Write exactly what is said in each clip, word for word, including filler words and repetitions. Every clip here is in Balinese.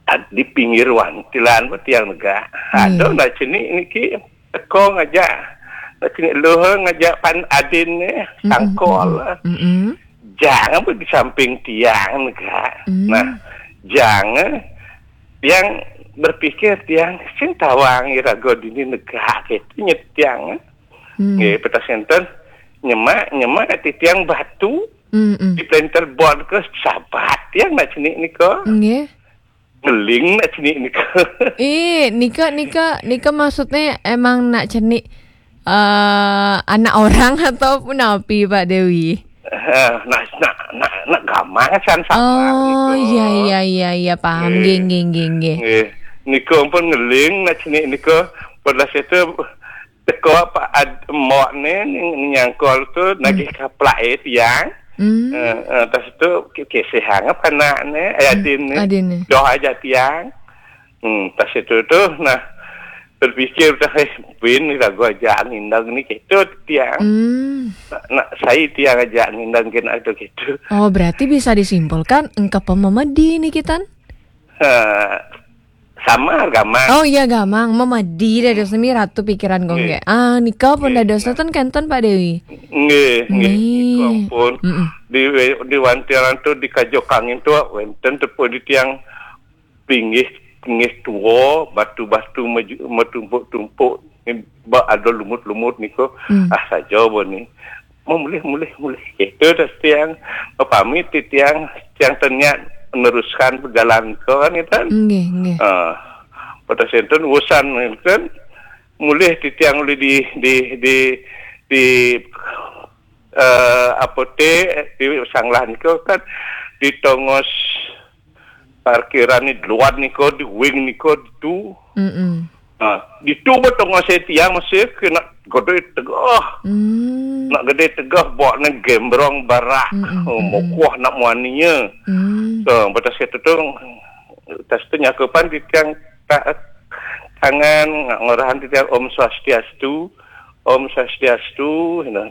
Di pinggir wantilan pun tiang negak. Ada nak cenik niki teko ngajak, nak cenik luhur ngajak pan adin ni, sangkol. Jangan pun di samping tiang negak. Nah, jangan tiang berpikir tiang sing tawang iraga dini negak itu nyet tiang. Nggih, petas enten nyemak, nyemak titiang batu di planter bot ke sabat tiang nak cenik nika. Nggih. Ngeling nak cenik nika. Eh, nika nika nika maksudnya emang nak cenik eh anak orang ataupun api Pak Dewi? Eh, nak nak nak nak gamang san sama Oh, nika. Iya iya iya iya paham. Nggih. Nggih nggih nggih nggih. Nggih. Nika pun ngeling nak cenik nika. Pada situ teko apa ad, embok ni nyangkol tu nagih kaplak eh tiang. Hmm. Eh, eh, tas tu kesehang apa anak ni, eh, adin ni. Adin ni. Doh aja tiang. Hmm, tas itu tu nah berpikir dah eh bin ni lagu aja ngindang ni gitu tiang. Hmm. Nak, nak saya tiang aja ngindang kena tu gitu. Oh, berarti bisa disimpulkan engkau pememedi nih kita. Ha, sama gamang. Oh iya gamang, memedi dari semi ratu pikiran gongge. Ah, nika pun dados nonton kenten Pak Dewi. Nggih, nggih. Nggih. Nika pun Mm-mm. di di wantilan tu di kajo kangin tu wenten tepuk di tiang pinggih pinggih tua, batu-batu maju- metumpuk-tumpuk ni ba ada lumut-lumut niku. Hmm. Ah saja bo ni. Memulih mulih mulih. Itu dah tiang pamit di tiang tiang terniat meneruskan perjalanan ke kan itu. Nggih, nggih. Ah, pada senten urusan kan mulih di tiang ulih di di di di eh, apotek di Sanglah niku kan di tongos parkiran ni luar niku di wing niku ditu. Mm-mm. Ha, ditu ba tongos saya tiang masih kena gede tegah. Hmm. Nak gede tegah bawa ni gembrong barak. Mm-mm, Oh, mm-mm. mokoh nak muaninya. Hmm. So, batas itu tu tas tu nyakupan di tiang ta- tangan ngak ngorahan di tiang Om Swastiastu, Om Swastiastu. Nah,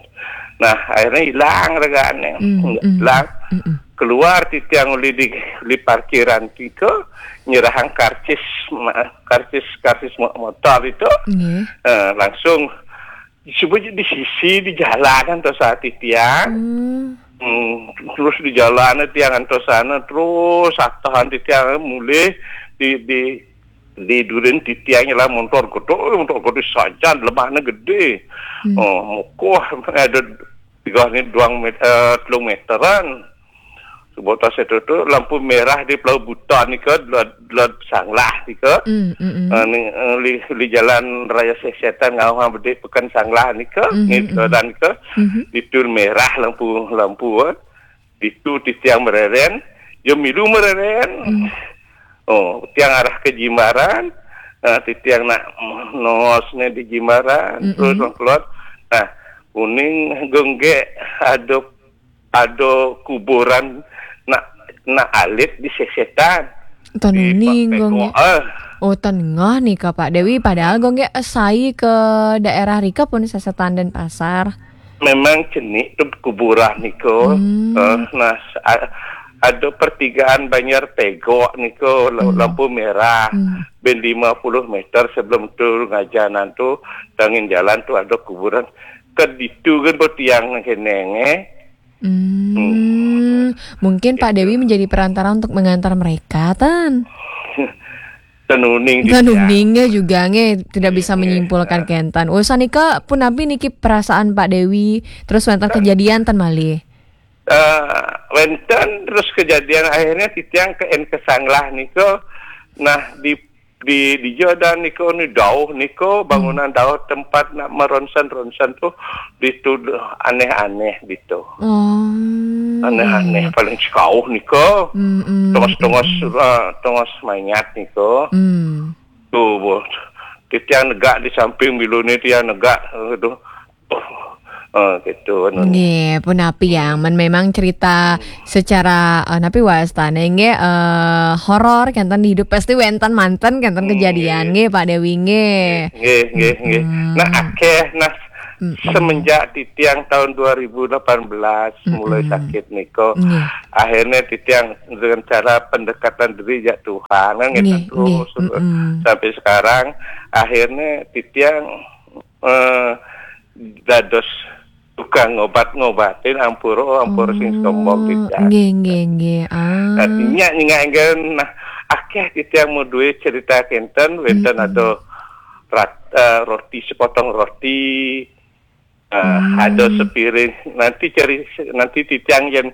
nah akhirnya hilang ragaannya. Hmm, hmm. Hilang. Mm-mm. Keluar di tiang uli di, di parkiran tiga nyerahang karcis ma- karcis karcis mo- motor itu. Nggih. Eh, langsung cuba di sisi di jalanan tu saat tiang. Hmm. Hmm, terus di jalan tiang antos sana terus atahan di tiang mulih di di di durin di tiangnya lah motor gede, motor gede sajan lemahnya gede. Oh, mokoh ada tiga ni dua meter, eh, telung meteran. Sebuah tas itu tu lampu merah di Pulau Buton ni ke lot, lot Sanglah ni ke. Hmm, mm-mm. Ah, ni, eh, li, li jalan raya Sesetan ngawang bedik pekan Sanglah ni ke, Mhm, ni mhm. dan ke. Mhm. Di tu merah lampu lampu eh. Di tu di tiang mereren, yo milu mereren. Oh, tiang arah ke Jimbaran. Ah, di tiang nak nos ni di Jimbaran, Mm-mm. terus keluar. Nah, uning gongge ada ada kuburan nak nak alit di Sesetan. Tan Di uning Pak gongge. Peko, eh. Oh, tan ngah nika Pak Dewi padahal gongge esai ke daerah rika pun Sesetan Denpasar. Memang cenik tu kuburan niko. Hmm. Eh, nah, a- ada pertigaan Banjar Tegok niko la- Hmm. lampu merah. Hmm. Ben lima puluh meter sebelum tu ngajanan tu tangin jalan tu ada kuburan. Ke ditu kan bertiang keneng eh. Hmm, mungkin Pak Dewi menjadi perantara untuk mengantar mereka, Tan. Tenuning di Tan tiang. Uning ya juga nge tidak bisa menyimpulkan kentan. Usan nika pun nabi niki perasaan Pak Dewi terus wonten kejadian tan malih. Eh, wenten terus kejadian akhirnya titiang ke en kesanglah niko. Nah di di di Jordan niko ni dauh niko bangunan dauh tempat nak meronsen-ronsen tu ditu aneh-aneh ditu. Oh. Aneh-aneh paling sekauh niko. Mm-mm. Tongos-tongos eh, tongos mayat niko. Hmm. Tu bu. Titiang negak di samping bilu ni tiang negak tu. Eh, gitu anu. Nggih, pun api ya, men memang cerita secara eh, napi wastane nggih eh, horor kenten di hidup pasti wenten manten kenten kejadian nggih Pak Dewi nggih. Nggih, nggih, nggih. Nah, akeh nah Mm-mm. Semenjak titiang tahun dua ribu delapan belas mulai Mm-mm. sakit niko, Nggih. Akhirnya titiang dengan cara pendekatan diri jak Tuhan, kan, nggih, ngeten nggih. Terus, mm-mm, sampai sekarang. Akhirnya titiang, eh, dados tukang ngobat-ngobatin, ampura, ampura sing sombong. Oh, titiang. Nggih, nggih, nggih. Ah. Artinya, nyingaken, nah, akeh titiang mau duwe cerita kenten, wenten, mm-mm, ada rat-, eh, roti, sepotong roti, eh, hmm, ada sepiring. Nanti cari, nanti titiang yang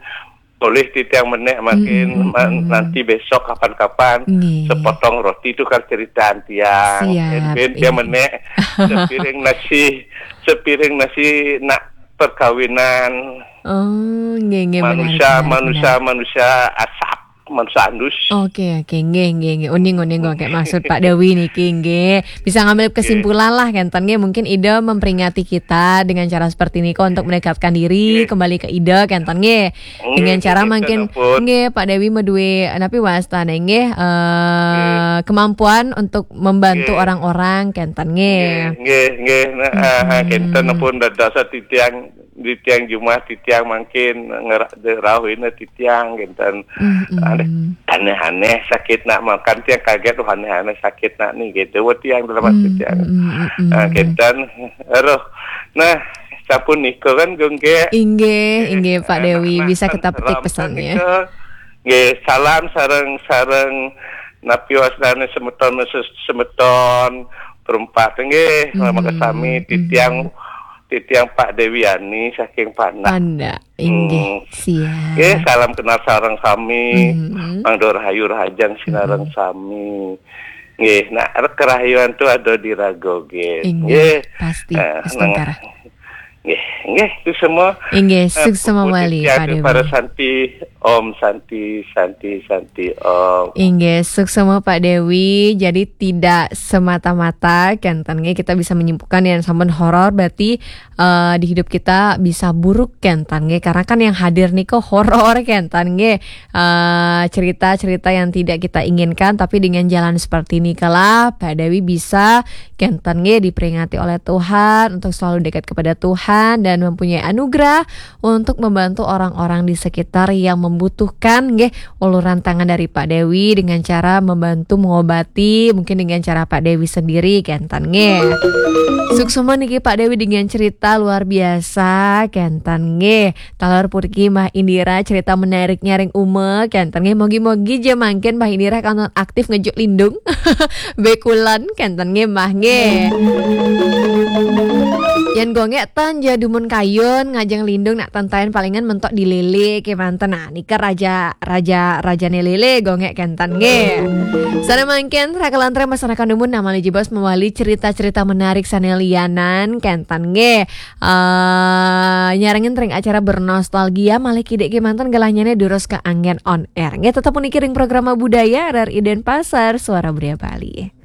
boleh titiang menek makin, mm-mm, ma-, mm-mm, nanti besok kapan-kapan, nggih, sepotong roti itu kan cerita tiang. Siap, ben dia, iya, Menek sepiring nasi, sepiring nasi nak perkawinan. Oh, nggih, nggih, menarik, manusia, menarik, manusia, menarik, manusia asap, manusia andus. Oke, oke, nggih, nggih, nggih. Uning, uning, kok kayak maksud Pak Dewi niki, nggih. Bisa ngambil, nggih, kesimpulan lah, kenten, nggih. Mungkin Ida memperingati kita dengan cara seperti ini kok untuk mendekatkan diri, nggih, kembali ke Ida, kenten, nggih. Nggih, dengan cara, nggih, mungkin, kenten pun, nggih, Pak Dewi medue, napi wastane, nggih, eh, nggih, kemampuan untuk membantu, nggih, orang-orang, kenten, nggih. Nggih, nggih, nggih. Nah, ah, ah, mm-mm, kenten pun dados titiang, titiang jumah, titiang mangkin ngera-, rauhina titiang, kenten. Mm-mm. Aneh, aneh-aneh sakit nak makan, tiang kaget, "Wah, aneh-aneh sakit nak nih," gitu. Wah, tiang dalam hati, mm-mm, tiang. Mm-mm. Ah, kenten. Aduh. Nah, sampun nika kan, Gung, nggih. Inggih, eh, inggih, Pak Dewi. Nah, bisa kita petik pesannya. Nika. Nggih, salam sareng, sareng napi wasnane semeton, ses-, semeton perempat. Nggih, mm-hmm, makasami, mm-hmm, titiang, titiang Pak Dewi Yani saking Pandak. Pandak, inggih, hmm, siap. Nggih, salam kenal sareng sami. Mm-hmm. Mangda rahayu rahajeng sinareng, mm-hmm, sami. Nggih, nah, kerahayuan tu ada di raga, nggih. Inggih, nggih, pasti, eh, Astungkara. Nggih, nggih, itu semua. Inggih, eh, suksma malih, Pak Dewi. Para Santi, Om Santi, Santi, Santi, Om. Inggih, suksma, Pak Dewi. Jadi tidak semata-mata, kenten, nggih, kita bisa menyimpulkan yang sampun horor berarti, eh, di hidup kita bisa buruk, kenten, nggih. Karena kan yang hadir nika horor, kenten, nggih. Eh, cerita-cerita yang tidak kita inginkan, tapi dengan jalan seperti ini kala Pak Dewi bisa, kenten, nggih, diperingati oleh Tuhan untuk selalu dekat kepada Tuhan dan mempunyai anugerah untuk membantu orang-orang di sekitar yang membutuhkan, nggih, uluran tangan dari Pak Dewi dengan cara membantu mengobati, mungkin dengan cara Pak Dewi sendiri, kenten, nggih. Suksma niki Pak Dewi dengan cerita luar biasa, kenten, nggih. Taler puriki Mbah Indira cerita menariknya ring Uma, kenten, nggih. Mogi-mogi ja mangkin Mbah Indira kantun aktif ngejuk lindung. Bekulon, kenten, nggih, Mbah, nggih. Yen gongek tan ja dumun kayun ngajeng lindung nak tentaen palingan mentok di lele kemanten. Nah, nika raja, raja, rajane lele gongek, kenten, nggih. Sana mangkin, rakelan tre masyarakat dumun namali jebos mawali cerita-cerita menarik sane lianan, kenten, nggih. Eh, nyarengin ring acara bernostalgia, malih kidik kemanten gelahnyane durus ke anggen on air. Nggih, tetep puniki ring programa budaya R R I Denpasar, Suara Budaya Bali.